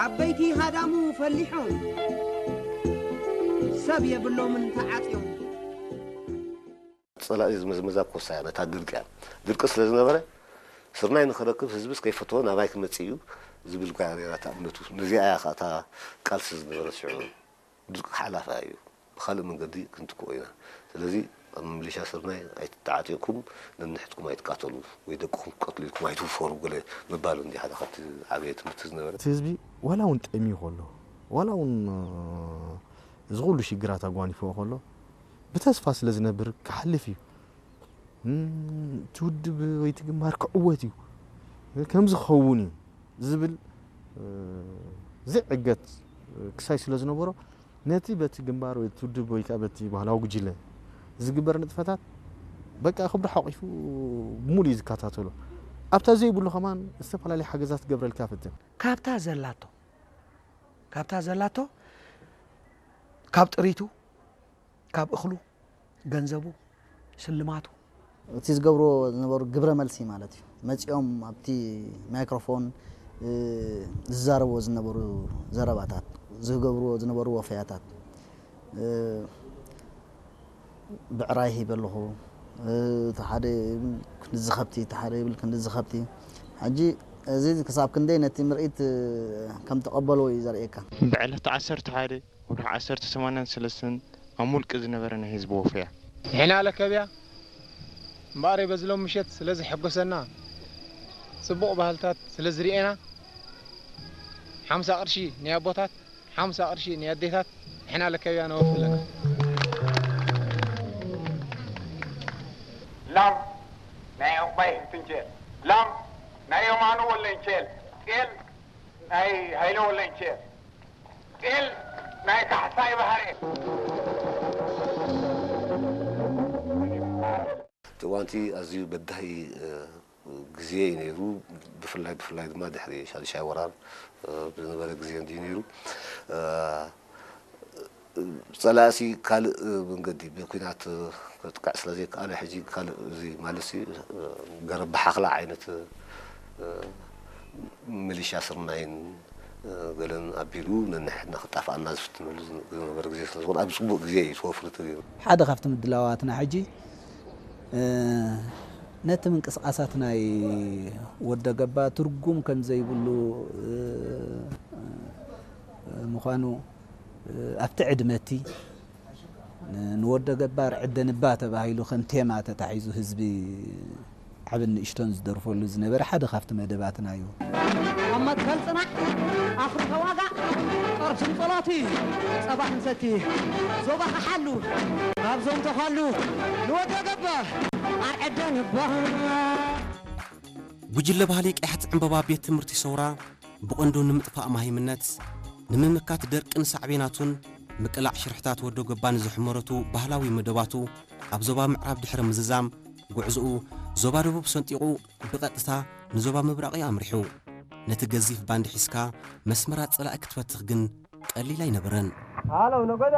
ዓበይቲ ሃዳሙ ፈሊሖም፣ ሰብ የብሎምን ተዓጽዮም። ጸላኢ ዝመዝመዛ ኮሳ እያ፣ ነታ ድርቂ እያ። ድርቂ ስለ ዝነበረ፣ ስርናይ ንኽረክብ ህዝብስ ከይፈተወ ናባይ ክመጽእ እዩ ዝብል እኳ ነይራ እታ እምነቱ። ነዚኣ እያ ኸዓ እታ ቃልሲ ዝነበረት ሽዑ። ድርቂ ሓላፋ እዩ፣ ብኻልእ መንገዲ ክንትክኦ ኢና። ስለዚ ኣብ ምልሻ ስርናይ ኣይትተዓጢቕኩም፣ ነንሕድኩም ኣይትቃተሉ፣ ወይ ደቅኹም ክቀትሉ ኢልኩም ኣይትውፈሩ ገለ ምባሉ እንዲ ሓደ ካብቲ ዓበየ ትምህርቲ ዝነበረ። እቲ ህዝቢ ዋላ እውን ጠምዩ ከሎ፣ ዋላ እውን እዚ ኩሉ ሽግራት ኣጓኒፍዎ ከሎ፣ ብተስፋ ስለ ዝነብር ክሓልፍ እዩ። እም፣ እቲ ውድብ ወይ እቲ ግንባር ክዕወት እዩ፣ ከምዚ ክኸውን እዩ ዝብል ዝዕገት ክሳይ ስለ ዝነበሮ፣ ነቲ በቲ ግንባር ወይ እቲ ውድብ ወይ ከዓ በቲ ባህላዊ ጉጅለ ዝግበር ንጥፈታት በቃ ክብሪ ሓቂፉ ብሙሉ እዩ ዝከታተሎ። ኣብታ ዘይብሉ ከማን ዝተፈላለየ ሓገዛት ክገብረልካ ፈትን። ካብታ ዘላቶ ካብታ ዘላቶ ካብ ጥሪቱ ካብ እኽሉ፣ ገንዘቡ፣ ስልማቱ። እቲ ዝገብርዎ ዝነበሩ ግብረ መልሲ ማለት እዩ። መጺኦም ኣብቲ ማይክሮፎን ዝዛረብዎ ዝነበሩ ዘረባታት፣ ዝገብርዎ ዝነበሩ ወፈያታት፣ ብዕራይ ሂበ ኣለኹ፣ እቲ ሓደ ይብል ክንድዚ ከብቲ፣ እቲ ሓደ ይብል ክንድዚ ከብቲ። ሕጂ እዚ ክሳብ ክንደይ ነቲ ምርኢት ከም ተቐበልዎ እዩ ዘርእየካ። ብዕለት ዓሰርተ ሓደ ወርሒ ዓሰርተ ሰማንያን ሰለስተን ኣብ ሙልቂ ዝነበረ ናይ ህዝቢ ወፈያ። ንሕና ለከብያ እምበኣረይ በዚ ሎም ምሸት ስለ ዘሐጎሰና፣ ጽቡቕ ባህልታት ስለ ዝርኤና፣ ሓምሳ ቅርሺ ናይ ኣቦታት፣ ሓምሳ ቅርሺ ናይ ኣዴታት ንሕና ለከብያ ነወፊ ኣለና። ላም ናይ ዑቕባይ ህብትንቸል፣ ላም ናይ የማኑ ወለንቸል፣ ጤል ናይ ሃይለ ወለንቸል፣ ጤል ናይ ካሕሳይ ባህሬ። እቲ እዋንቲ ኣዝዩ በዳሂ ግዜ እዩ ነይሩ። ብፍላይ ብፍላይ ድማ ድሕሪ ሻድሻይ ወራር ዝነበረ ግዜ እንድዩ ነይሩ። ጸላእሲ ካልእ መንገዲ ብኩናት ከጥቅዕ ስለ ዘይከኣለ፣ ሕጂ ካልእ እዚ ማለትሲ ገረብ ብሓኽላ ዓይነት ሚሊሻ ስርናይን ገለን ኣቢሉ ነንሕድና ክጣፍኣና ዝፍትነሉ ዝነበረ ግዜ ስለ ዝኾነ፣ ኣብ ጽቡቕ ግዜ እዩ ተወፍሩ ተገይሩ። ሓደ ካብቲ ምድላዋትና ሕጂ ነቲ ምንቅስቓሳት ናይ ወደ ገባ ትርጉም ከም ዘይብሉ ምዃኑ ኣብቲ ዕድመ እቲ ንወደ ገባር ዕደንባ ተባሂሉ ከም ቴማ ተታሒዙ ህዝቢ ዓብን ንእሽቶን ዝደርፈሉ ዝነበረ ሓደ ካብቲ መደባትና እዩ። ኣብ መትከል ጽናሕ ኣፍሪ ተዋጋእ ጸርፍን ጸሎቲ ጸባሕን ሰቲ ዞባኻ ሓሉ ካብ ዞም ተዃሉ ንወደ ገባር ኣርዕደንባ። ጉጅለ ባህሊ ቀያሕቲ ዕምበባ ቤት ትምህርቲ ሰውራ ብቐንዱ ንምጥፋእ ማሂምነት፣ ንምምካት ደርቅን ሳዕቤናቱን፣ ምቅላዕ ሽርሕታት ወዶ ገባን ዝሕመረቱ ባህላዊ መደባቱ ኣብ ዞባ ምዕራብ ድሕሪ ምዝዛም፣ ጉዕዞኡ ዞባ ደቡብ ሰንጢቑ ብቐጥታ ንዞባ ምብራቕ እዩ ኣምሪሑ። ነቲ ገዚፍ ባንድ ሒዝካ መስመራት ጸላኢ ክትፈትኽ ግን ቀሊል ኣይነበረን። ሃለው ነጎዳ።